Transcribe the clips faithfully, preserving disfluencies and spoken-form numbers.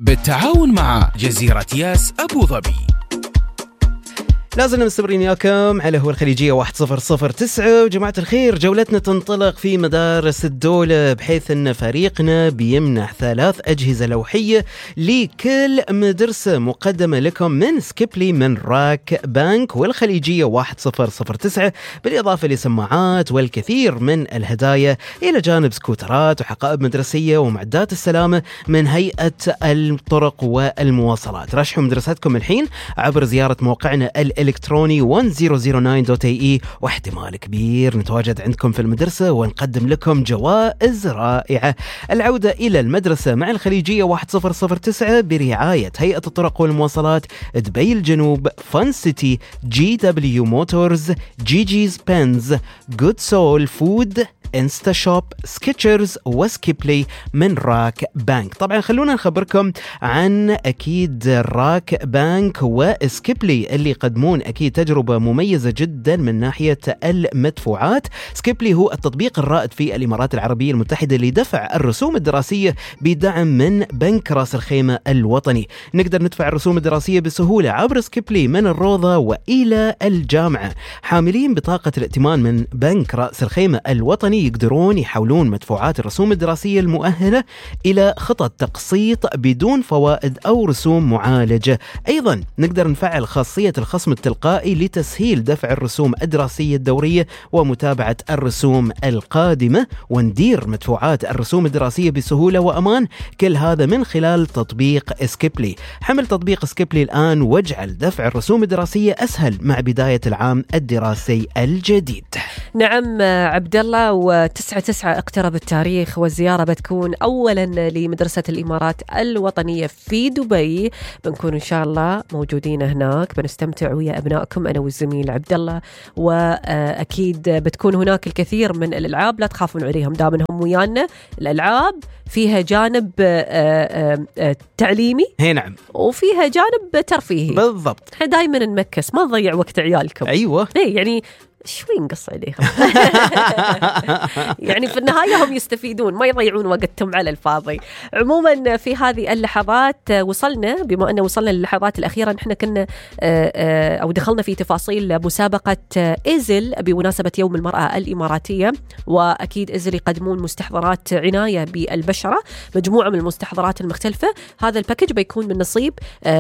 بالتعاون مع جزيرة ياس أبو ظبي. لازلنا مستمرين وياكم على هو الخليجية واحد صفر صفر تسعة. وجماعة الخير، جولتنا تنطلق في مدارس الدولة، بحيث أن فريقنا بيمنح ثلاث أجهزة لوحية لكل مدرسة مقدمة لكم من سكيبلي من راك بانك والخليجية واحد صفر صفر تسعة، بالإضافة لسماعات والكثير من الهدايا، إلى جانب سكوترات وحقائب مدرسية ومعدات السلامة من هيئة الطرق والمواصلات. رشحوا مدرستكم الحين عبر زيارة موقعنا الإلكتروني واحد صفر صفر تسعة دوت اي اي، واحتمال كبير نتواجد عندكم في المدرسة ونقدم لكم جوائز رائعة. العودة إلى المدرسة مع الخليجية واحد صفر صفر تسعة برعاية هيئة الطرق والمواصلات، دبي الجنوب، فان سيتي، جي دبليو موتورز، جي جيز بنز، جود سول فود، انستا شوب، سكيتشرز، وسكيبلي من راك بانك. طبعا خلونا نخبركم عن أكيد راك بانك وسكيبلي اللي يقدمون أكيد تجربة مميزة جدا من ناحية المدفوعات. سكيبلي هو التطبيق الرائد في الإمارات العربية المتحدة لدفع الرسوم الدراسية بدعم من بنك رأس الخيمة الوطني. نقدر ندفع الرسوم الدراسية بسهولة عبر سكيبلي من الروضة وإلى الجامعة. حاملين بطاقة الائتمان من بنك رأس الخيمة الوطني يقدرون يحولون مدفوعات الرسوم الدراسية المؤهلة إلى خطط تقسيط بدون فوائد أو رسوم معالجة. أيضا نقدر نفعل خاصية الخصم التلقائي لتسهيل دفع الرسوم الدراسية الدورية ومتابعة الرسوم القادمة، وندير مدفوعات الرسوم الدراسية بسهولة وأمان. كل هذا من خلال تطبيق سكيبلي. حمل تطبيق سكيبلي الآن واجعل دفع الرسوم الدراسية أسهل مع بداية العام الدراسي الجديد. نعم عبد الله، وتسعة تسعة اقترب التاريخ، والزيارة بتكون أولا لمدرسة الإمارات الوطنية في دبي. بنكون إن شاء الله موجودين هناك، بنستمتع ويا أبنائكم أنا والزميل عبد الله، وأكيد بتكون هناك الكثير من الألعاب، لا تخافون عليهم دامنهم ويانا. الألعاب فيها جانب تعليمي، هي نعم، وفيها جانب ترفيهي. بالضبط، احنا دائما نمكس، ما نضيع وقت عيالكم. أيوة، هي يعني شوي نقص عليهم يعني في النهاية هم يستفيدون، ما يضيعون وقتهم على الفاضي. عموما في هذه اللحظات وصلنا، بما أنه وصلنا للحظات الأخيرة، نحن كنا أو دخلنا في تفاصيل مسابقة إيزل بمناسبة يوم المرأة الإماراتية. وأكيد إيزل يقدمون مستحضرات عناية بالبشرة، مجموعة من المستحضرات المختلفة. هذا الباكج بيكون من نصيب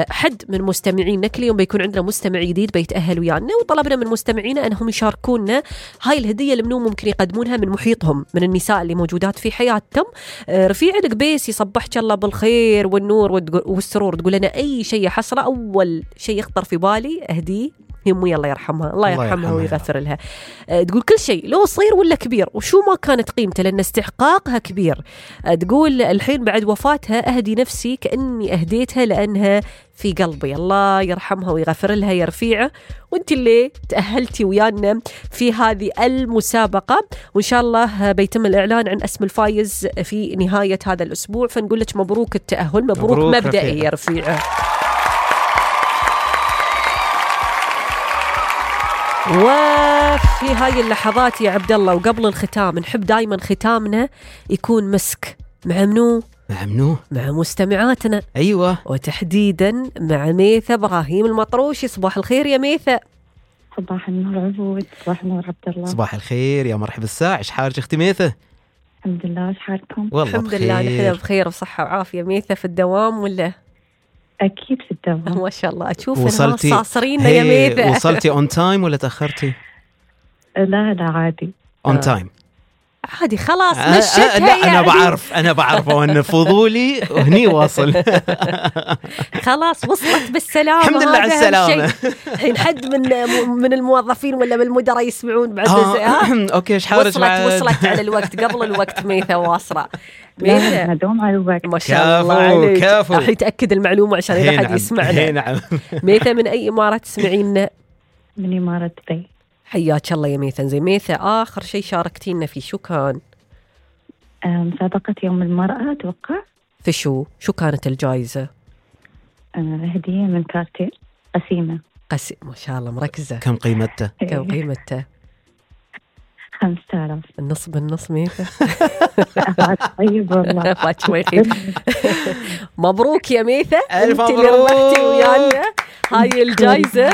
حد من مستمعين كل يوم. بيكون عندنا مستمع جديد بيتأهل ويانا، وطلبنا من مستمعينا أنهم يشاركون كنا هاي الهدية اللي منو ممكن يقدمونها من محيطهم، من النساء اللي موجودات في حياتهم. رفيع القبيس يصبحك الله بالخير والنور والسرور، تقول لنا أي شيء حصره، أول شيء يخطر في بالي أهديه أمي الله يرحمها، الله يرحمها, يرحمها ويغفر لها. تقول كل شيء لو صغير ولا كبير وشو ما كانت قيمته لأن استحقاقها كبير. تقول الحين بعد وفاتها أهدي نفسي كأني أهديتها لأنها في قلبي، الله يرحمها ويغفر لها يا رفيعة. وانت اللي تأهلتي ويانا في هذه المسابقة، وإن شاء الله بيتم الإعلان عن اسم الفايز في نهاية هذا الأسبوع. فنقول لك مبروك التأهل، مبروك, مبروك مبدئي رفيع. يا رفيعة. وفي هاي اللحظات يا عبد الله وقبل الختام، نحب دايما ختامنا يكون مسك مع منو؟ مع منو؟ مع مستمعاتنا. أيوة، وتحديدا مع ميثة إبراهيم المطروشي. صباح الخير يا ميثة. صباح النور عبود. صباح النور عبد الله. صباح الخير يا مرحبا الساعة. إيش حالك أختي ميثة؟ الحمد لله، إيش حالكم؟ والله الحمد بخير. لله نحن بخير وصحة وعافية. ميثة في الدوام ولا؟ أكيد في الدوام. ما شاء الله، أشوف وصلتي صاصرين يا ميثة. وصلتي اون تايم ولا تأخرتي؟ لا لا عادي اون تايم عادي خلاص آه مشيتها. آه لا يعني. أنا بعرف أنا بعرف وأن فضولي وهني واصل. خلاص وصلت بالسلامة. الحمد لله على السلامة. الحين حد من من الموظفين ولا من المدراء يسمعون بعد. آه أوكي إيش حارج وصلت بعد. وصلت على الوقت قبل الوقت. ميثة واصلة. ميثة دوم على الوقت. ما شاء الله عليك. كافو. راح يتأكد المعلومة عشان إذا حد يسمعنا. نعم. ميثة من أي إمارة تسمعين؟ من إمارة دبي. حياك الله يا ميثة. زي ميثة آخر شيء شاركتينا فيه شو كان؟ مسابقة يوم المرأة أتوقع. في شو؟ شو كانت الجائزة؟ هدية من كارتيل قسيمة. قسي ما شاء الله مركزة. كم قيمته؟ كم قيمته؟ خمسة آلاف. النص بالنص ميثا. طيب والله. فات شوي خير. مبروك يا ميثا، ألف انت اللي مبروك. ربحتي ويانا هاي الجائزة.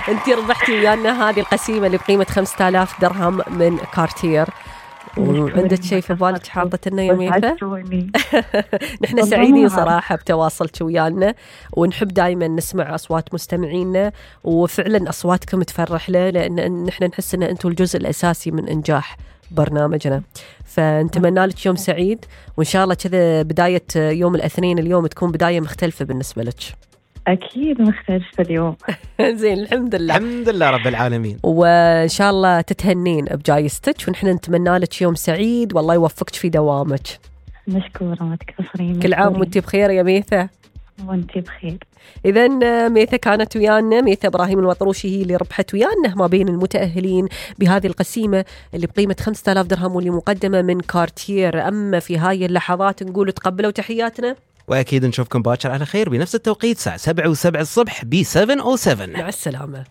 انت ربحتي ويانا هذه القسيمة اللي بقيمة خمسة آلاف درهم من كارتير. وعندك شيء في بالك حاطة لنا يا ميثا؟ نحن سعيدين صراحة بتواصلك ويانا، ونحب دائما نسمع أصوات مستمعينا، وفعلا أصواتكم تفرح له، لأن نحن نحس أن أنتم الجزء الأساسي من إنجاح برنامجنا. فنتمنى لك يوم سعيد، وإن شاء الله كذا بداية يوم الاثنين اليوم تكون بداية مختلفة بالنسبة لك. أكيد مختلفة اليوم. زين الحمد لله. الحمد لله رب العالمين. وإن شاء الله تتهنين بجايزتك، ونحن نتمنى لك يوم سعيد، والله يوفقك في دوامك. مشكورة، ما تكفرين. كل عام وانتي بخير يا ميثا. وانتي بخير. إذن ميثا كانت ويانا، ميثا إبراهيم الوطروشي هي اللي ربحت ويانا ما بين المتأهلين بهذه القسيمة اللي بقيمة خمسة آلاف درهم، واللي مقدمة من كارتير. أما في هاي اللحظات نقول تقبلوا تحياتنا، وأكيد نشوفكم باكر على خير بنفس التوقيت، الساعة سبعة وسبع الصبح ب سبعة أو سبعة. مع السلامة.